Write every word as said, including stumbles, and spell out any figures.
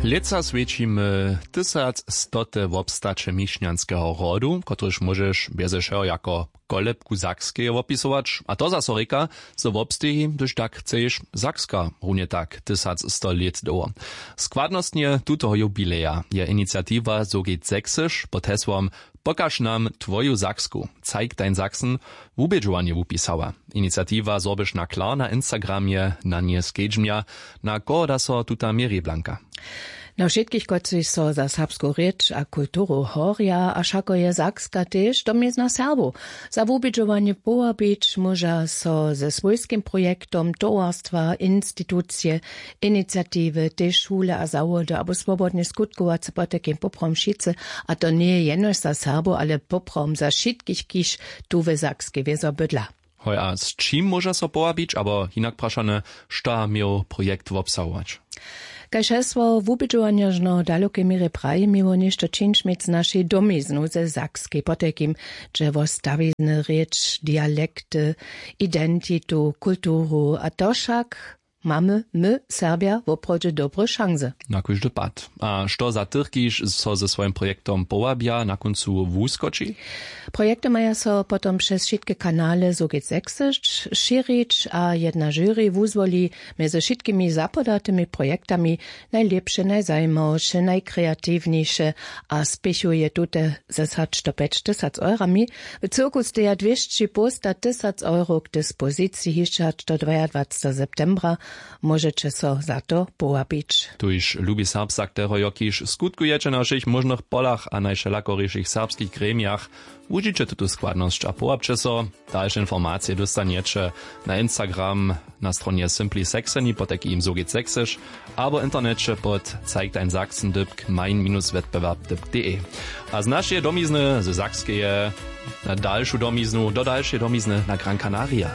Lětsa swjećimy tysacstote wobstaće mišnjanskeho rodu, kotryž móžeš bjeze wšeho jako kolebku Sakskeje wopisować, a to zaso rěka, zo wobsteji, hdyž tak chceš, Sakska runje tak tysacsto lět dołho. Składnostnje tutoho jubileja je iniciatiwa Sogit Sächsisch pod hesłom „Pokaž nam twoju Saksku, zeig dein Sachsen” wubědźowanje wupisała. Iniciatiwa zhorbyš na klar na Instagramje, na nje skedźbnja, na koho da so tuta měri, Blanka. Na wšitkich, kotřiž so za serbsku rěč a kulturu horja, a wšako je Sakska tež domizna Serbow. Za wubědźowanje powabić móža so ze swójskim projektom towarstwa, institucije, iniciatiwy, tež šule a zawody abo swobodnje skutkowace potajkim poprawom wšitcy, a to njeje jenož za Serbow, ale poprawom za wšitkich, kiž tu w Sakskej wězo bydla. Hoj, a z čim móža so powabić, abo hinak prašane, što měł projekt wobsahować? Kaž hesło wubědźowanja žno w dalokej měrje praji, měło něšto čińć měć z našej domiznu ze Sakskej potajkim, dźe wo stawizny, rěč, dialekty, identitu, kulturu, a to wšak mamy my, Serbja, woprawdźe dobre šansy. Na kóždy pad. A što za tych, kiž so ze swojim projektom powabja, na kóncu wuskoči? Projekty maja so potom přez wšitke kanale Sogit Sächsisch šěrić a jedna žury wuzwoli mjez wšitkimi zapodatymi projektami najlěpše, najzajimawše, najkreatiwnjejše a spěchuje tute z hač do pjećtysac eurami. W cyrku steja dwěsći połsta tysac euro k dispoziciji hišće hač do dwajadwacetego septembra. Móžeće so za to powabić. Tuž lubi Serbsak, teho jo kiž skutkujeće na wšěch móžnych polach a najwšelakorišich serbskich gremijach, wužiće tutu składnosć a powabće so. Dalše informacije dóstanjeće na Instagram na stronje Simply Saxony pod takim Sogit Sächsisch abo w interneće pod zeig dein Sachsen dypk mein minus wettbewerb dypk de. A z našeje domizny, ze Sakskeje, na dalšu domiznu, do dalšeje domizny na Gran Canaria.